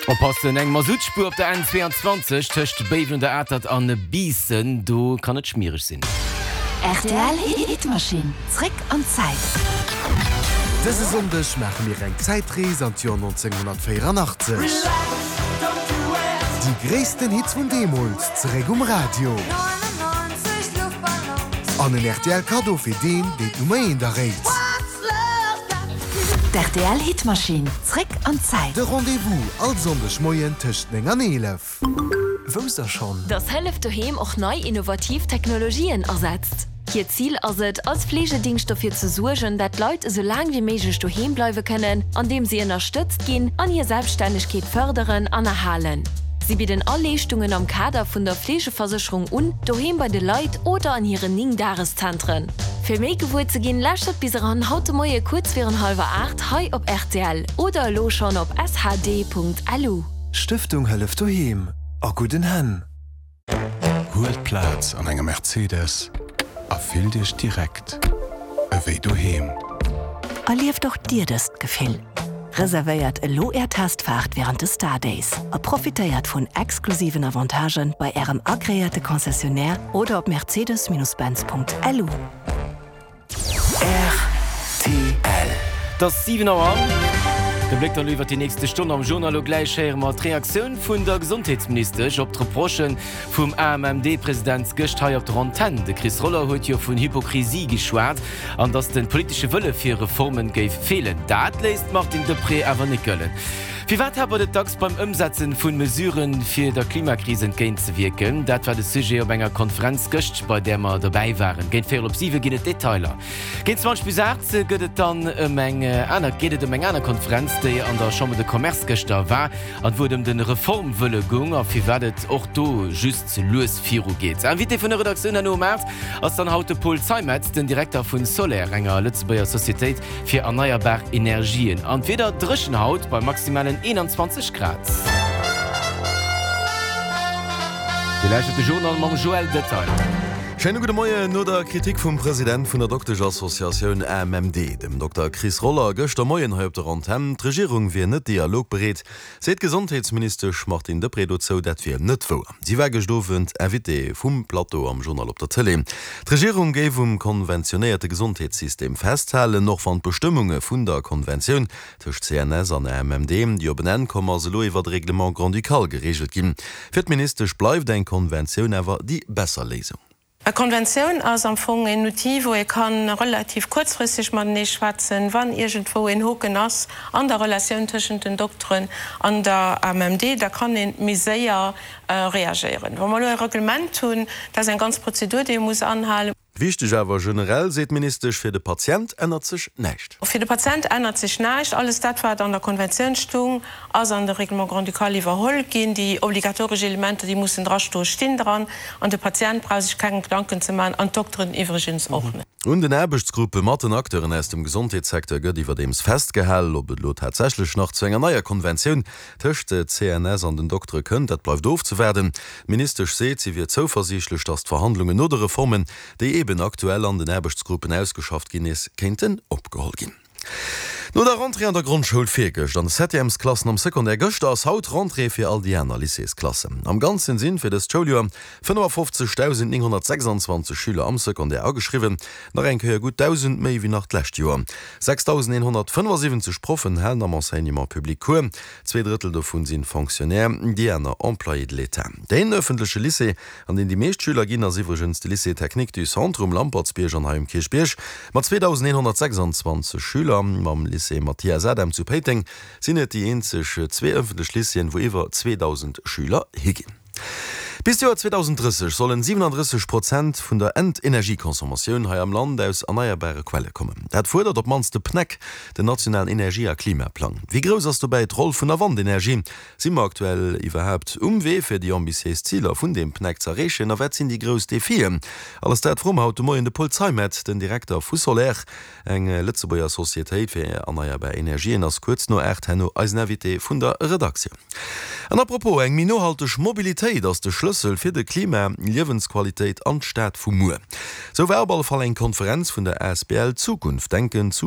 Oppassen, eng Masuttspuer op der N22 tëscht Béiwen un der Atert an Biissen, do kann et schmiereg sinn. Rtl Hitmaschinn, zréck an d'Zäit. Dëse Sonndeg maache mir eng Zäitrees an d'Joer 1984. Déi gréissten Hits vun deemools zeréck um Radio. An en rtl Kaddo fir deen, deen d'Nummer eent erréit. D'RTL Hitmaschinn, zréck an d'Zäit. De Rendez-vous all Sonndeg Moien tëscht 9 an 11. Wousst der schonn? Dass Hëllef Doheem och nei innovativ Technologien asetzt. Hiert Zil ass et, als Fleegedingscht dofir ze suergen, dat d'Leit esou laang wéi méiglech doheem bleiwe kënnen, andeem si ënnerstëtzt ginn an hir Selbststännegkeet fërderen an erhalen. Si bidden all Leeschtungen am Kader vun der Fleegeversécherung un, doheem bei de Leit oder an hiren 9 Dageszentren. Fir méi gewuer ze ginn, lauschtert bis eran haut de Moie kuerz virun hallwer 8 hei op rtl oder elo schonn op shd.lu. Stëftung Hëllef Doheem, a gudden Hänn! Huelt Plaz an engem Mercedes a fillt Iech direkt ewéi doheem. Erlieft och Dir dëst Gefill! Reservéiert elo Är Testfaart wärend de Star Days a profitéiert vun exklusiven Avantagen bei Ärem agreéierte Concessionnaire oder op mercedes-benz.lu. Rtl. Et ass 7 Auer. De Bléck dann elo iwwer déi nächste Stonn am Journal. Elo gläich héiere mer d'Reaktioun vun der Gesondheetsministesch op d'Reprochë vum AMMD-President gëscht hei op der Antenn. De Chris Roller huet jo vun Hypokrisie geschwat an datt de politesche Wëlle fir Reforme géif feelen. Dat léisst d'Martine Deprez awer net gëllen. Firwat hapert et dacks beim Ëmsetzen vun Mesuren, fir der Klimakris entgéint ze wierken? Dat war de Sujet op enger Konferenz gëscht, bei där mer dobäi waren. Géint véierel op siwe ginn et Detailer. Géint 20 bis 8 gëtt et dann ëm eng aner geet et ëm eng aner Konferenz, déi an der Chambre de Commerce gëschter war an wou et ëm de Reformwëlle goung a firwat et och do just lues viru geet. Invité vun der Redaktioun herno um 8 ass dann haut de Paul Zeimetz, den Direkter vun Soler, enger Lëtzebuerger Societéit fir erneierbar Energien. An d'Wieder dréchen haut bei maximalen 21 Grad. Dir lauschtert de Journal mam Joël Detail. Schéine gudde Moien. No der Kritik vum President vun der Doktesch-Associatioun AMMD, dem Dokter Chris Roller, gëschter Moien hei op der Antenn, d'Regierung wier net dialogbereet, Seet d'Gesondheetsministesch Martine Deprez dozou, dat wier net wouer. Si war gëscht Owend Invitée vum Plateau am Journal op der Tëlee. D'Regierung géif um konventionéierte Gesondheetssystem festhalen, och wann d'Bestëmmunge vun der Konventioun tëscht CNS an AMMD, déi op en Enn komm ass, elo iwwert e Règlement grand-ducal gereegelt ginn. Fir d'Ministesch bleift eng Konventioun awer déi besser Léisung. E Konventioun ass am Fong een Outil, wou ee ka relativ kuerzfristeg matenee schwätzen, wann iergendwou een Hoken ass an der Relatioun tëschent den Dokteren an der AMMD, da kann ee méi séier reagéieren. Wa mer elo e Reglement hunn, dat ass eng ganz Prozedur, déi ee muss anhalen. Wichteg awer generell, seet d'Ministesch, fir de Patient ännert sech näischt. Fir de Patient ännert sech näischt. Alles dat, wat an der Konventioun stung, ass an de Règlement grand-ducal iwwerholl ginn. Déi obligatoresch Elementer, déi mussen drastoen, stinn dran. An de Patient brauch sech keng Gedanken ze maachen, an d'Dokteren iwwregens och net. Un den Aarbechtsgruppe mat den Acteuren aus dem Gesondheetssecteur gëtt iwwerdeems festgehal. Ob et elo tatsächlech nach zu enger neier Konventioun tëscht CNS an den Doktere kënnt, dat bleift ofzewaarden. D'Ministesch seet, si wier zouversiichtlech, datt d'Verhandlungen no de Reformen, déi eeben aktuell an den Aarbechtsgruppen ausgeschafft ginn, nees kéinten opgeholl ginn. No der Rentrée an der Grondschoul virgëscht an de Septièmesklassen am Secondaire gëschter ass haut Rentrée fir all déi aner Lycéesklassen. Am Ganzen sinn fir dëst Schouljoer 55.926 Schüler am Secondaire ageschriwwen, nach eng Kéier gutt 1.000 méi wéi nach d'lescht Joer. 6.175 Proffen halen am Enseignement public Cours, zwee Drëttel dovun sinn Fonctionnaires, déi aner Employés de l'État. Deen ëffentleche Lycée An deen déi meescht Schüler ginn, ass iwwregens de Lycée Technique du Centre um Lampertsbierg an hei um Kierchbierg mat 2.126 Schüler. Mam Lycée Mathias Adam zu Péiteng sinn et déi eenzeg zwee ëffentlech Lycéeën, wou iwwer 2.000 Schüler higinn. Bis d'Joer 2030 sollen 37 Prozent vun der Endenergieconsommatioun hei am Land aus erneierbare Quelle kommen. Dat fuerdert op d'mannst de PNEC, den nationalen Energie a Klimaplang. Wéi grouss ass dobäi d'Roll vun der Wandenergie? Si mer aktuell iwwerhaapt um Wee fir déi ambitiéis Ziler vun deem PNEC ze erreechen a wat sinn déi grouss Defien? Alles dat froe mer haut de Moien de Paul Zeimet, den Direkter vu Soler, eng Lëtzebuerger Societéit fir erneierbar Energien, ass kuerz no 8 herno eisen Invité vun der Redaktioun. An à propos, eng méi nohalteg Mobilitéit ass de Schlëssel fir de Klima, Liewensqualitéit an d'Stad vu muer. Sou war op alle Fall eng Konferenz vun der asbl Zukunft denken zu.